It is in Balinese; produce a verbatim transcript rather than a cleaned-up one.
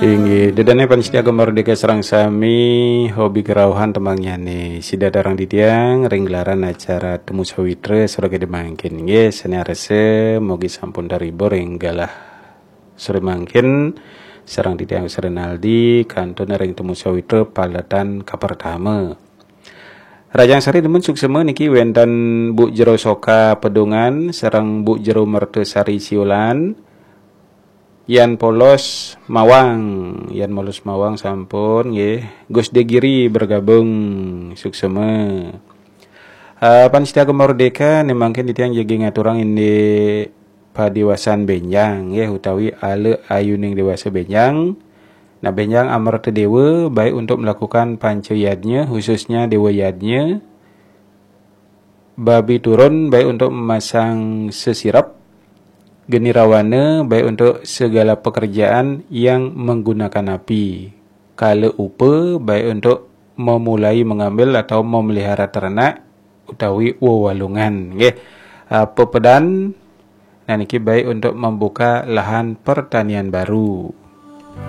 Inggih, ida dané pamiarsa Gema Merdeka sareng sami, hobi kerauhan temanggihané. Sida sareng titiang ring gelaran acara Temu Sawitra sore mangkin. Inggih, sané arsa mugi sampun terhibur ring galah sore mangkin sareng titiang Renaldi kantun ring Temu Sawitra paletan kapertama. Rahajeng sore dumun suksma niki wénten Bu Jero Soka Pedungan sareng Bu Jero Mertasari Siulan. Yan Polos Mawang, Yan Polos Mawang sampun nggih. Gus Degiri bergabung, suksma. Uh, pamiarsa Gema Merdeka, né mangkin titiang jagi ngaturang indik padiwasan bénjang nggih, utawi ala ayuning dewasa bénjang. Nah, bénjang Amerta Déwa baik untuk melakukan panca yadnya, khususnya Déwa Yadnya. Babi turun baik untuk memasang sesirep, geni rawana baik untuk segala pekerjaan yang menggunakan api, kala upa baik untuk memulai mengambil atau memelihara ternak utawi wewalungan nggih. Ah, pepedan, nah niki baik untuk membuka lahan pertanian baru.